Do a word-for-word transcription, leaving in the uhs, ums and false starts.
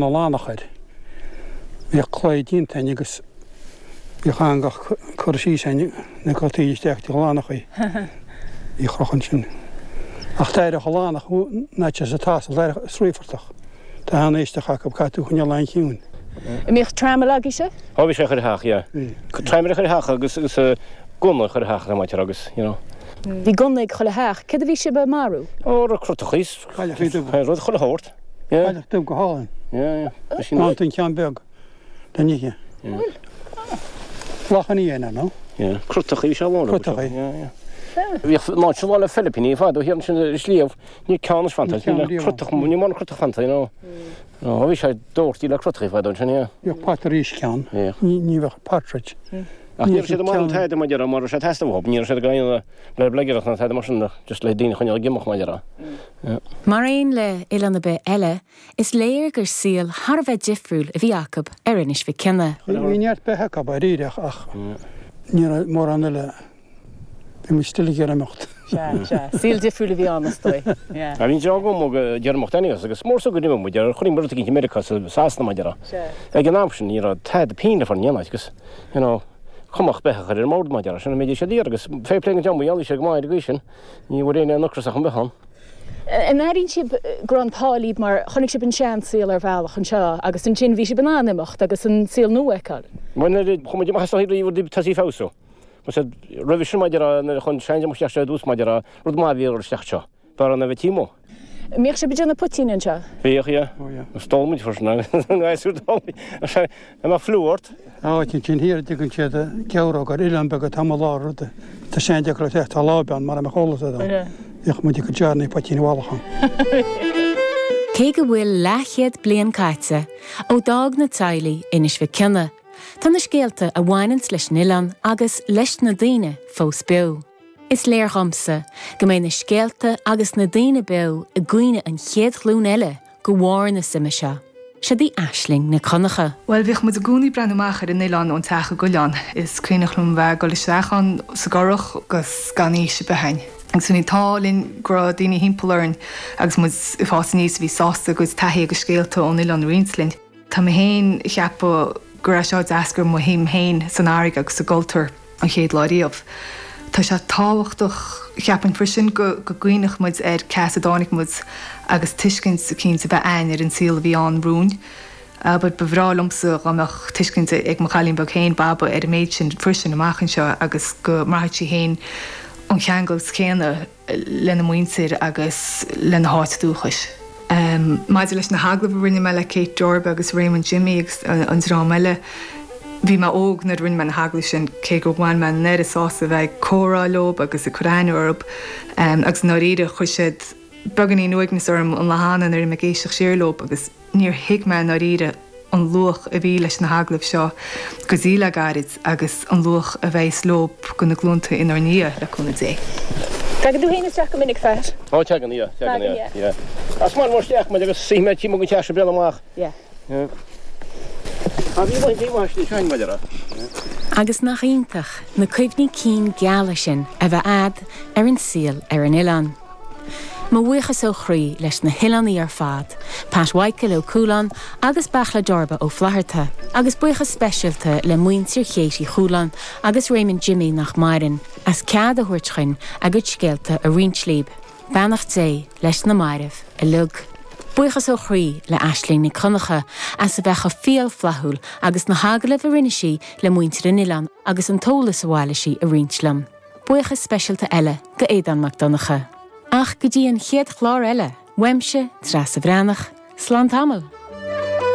Oileánach air. Bhíodh claí déanta againn agus bhíodh eangach curtha síos againn na cotaí isteach dtí oileánachaí. Bhí chroch ansin. Ach d'éireodh oileánach ná sa tásal d'éireodh sraofartach. Tá an-éisteach acu caithfidh tú coinneáil an-chiúin. An mbíodh trammel agaibhse? Ó bhí sé chuile theach, yeah. Trammel chuile theach agus agus gunna chuile theach le maite agus, you know. Bhí gunna ag chuile theach. Céard a bhí sibh ag marú? Ó rud crotachaí, Cailleachaí dubha. rud chuile shórt. Yeah. Cailleach dubh go hálainn. Yeah, yeah. Sin An an ceann beag den oíche. Lachan fhiáin nó? Yeah. Crotachaí sé lán. Crotachaí. Yeah, yeah. Bhíodh ná sin lá le Filipíní fad ó thiar sin sliabh ní ceann is fanta Ní ceann riamh crotach ní mar crotach fanta, you know. No, bhí sé dóirtí le crotachaí fad sin, yeah. Bhíodh patairíis ceann. Bhíodh. Ní ní bheadh partridge. Ach ní raibh siad amach an taide mar mar raibh sé testa bhób, ní raibh siad gaine le blegireach na taide mar sin just le daoine chun gimach mar Mar aon le oileán ar bith eile, is léir gur saol thar a bheith difriúil a bhí acu ar Inis Mhic Cionnaith. Bhí neart beithe acu dáiríre ach ní raibh mórán eile bhí muid still ag iarraidh imeacht. Saol difriúil a bhí ann is dóigh. A bhí go mó dearmach Daniels agus mór go rim mu ar chuí mar gin America sa Sasana mar Ag an am sin ní raibh tada pín le far dhéanamh agus you know, cumach beithe ar an mbord mar sin mé sé díar agus fé plé an deam sé go maith go sin ní bhfuair aon ocras ach an behan. An airíonn sibh go raibh an t-ádh libh mar chonaic sibh an seansaol ar bhealach anseo agus ansin bhí sibh in ann imeacht agus an saol nua a fheiceáil. Chuid amach tá feabhsú. Roimh sin maidir chun sein isteach sé dús maidir rud má bhí isteach seo. Bar an a bheith tímó. Mbíodh sibh ag déanamh poitín anseo? Bhíodh yeah. Stólmuid freisin a fliú ort. Áit sin thiar dtugann siad ceabhróg ar oileán beag atá mo lár ruda. Tá sé deacair le tá lában mar a cholas é. Bhíodh muid go dearnaí poitín bhallachan. Cé go bhfuil leathchéad bliain caite ó d'fhág na teaghlaigh Inis Mhic Cionnaith, Tá na scéalta a bhaineann leis an oileán agus leis na daoine fós beo. Is léir dhomsa go mbeidh na scéalta agus na daoine beo i gcuimhne an chéad ghlúin eile de bharr na suime seo. Seo í Aisling Nic Dhonncha. Well bhíodh muid i gcónaí ag breathnú amach ar an oileán ón teach i gCoileán. Is cuimhneach liom bheith dul isteach ann sa gcurach agus gan fhios a bheith Agus bhí an t-ádh linn go raibh daoine timpeall orainn agus muid ag fás aníos a bhí sásta a gcuid taithí agus scéalta ón oileán a roinnt linn. Tá mé féin ag ceapadh go raibh seo d'eascair mo shuim féin san fharraige agus sa gcultúr an chéad lá riamh. Tá sé tábhachtach ceapaim freisin go go gcuimhneodh muid ar cá as a dtáinig muid agus tuiscint eicínt a bheith againn ar an saol a bhí ann romhainn. Aber ba bhreá liomsa go mbeadh tuiscint ag mo chailín beag féin Baba ar an méid sin freisin amach anseo agus go mbraithfeadh sí féin an ceangal céanna lena muintir agus lena háit dúchais. Um, Maidir leis na hagallaimh a rinne mé le Kate Jorba agus Raymond Jimmy agus an, an dream eile, Bhí mé óg nuair a rinne mé na hagallaimh sin cé gur bhain mé an oiread sásamh bheith comhrá leo agus ag cur aithne orthu um, agus dáiríre chuir siad beagáinín uaigneas orm an lá cheana nuair a bhí mé ag éisteacht siar leo agus níor thuig mé dáiríre an luach a bhí leis na hagallaimh seo go dtí le gairid agus an luach a bheas leo do na glúnta inár ndiaidh le cúnamh Dé. Tagann tú féin isteach go minic Pat? Ó tagann yeah, tagann yeah, yeah. As mar isteach mu agus si mé tí go teach breathnú amach. Yeah. A bhí bhí sein maidir. Agus nach iontach na cuimhní cinn geala sin a bheith agat ar an saol ar an oileán. Mo bhuíochas ó chroí leis na hoileánaigh ar fad, Pat Mhichael ó Cualáin agus Beachla Dorba ó Flatharta, agus buíochas speisialta le muintir Chéití Chualáin agus Raymond Jimmy nach maireann, as cead a thabhairt chuinn a gcuid scéalta a roinnt libh. Beannacht Dé leis na mairbh uilig. Buíochas ó chroí le Aisling Nic Dhonncha as a bheith chomh fial flaithiúil agus na hagallaimh a rinne sí le muintir an oileáin agus an t-eolas a bhailigh sí a roinnt liom. Buíochas speisialta eile go Aodán Mac Donncha. Ach go dtí an chéad chlár eile, uaimse Treasa Bhreathnach, slán tamall.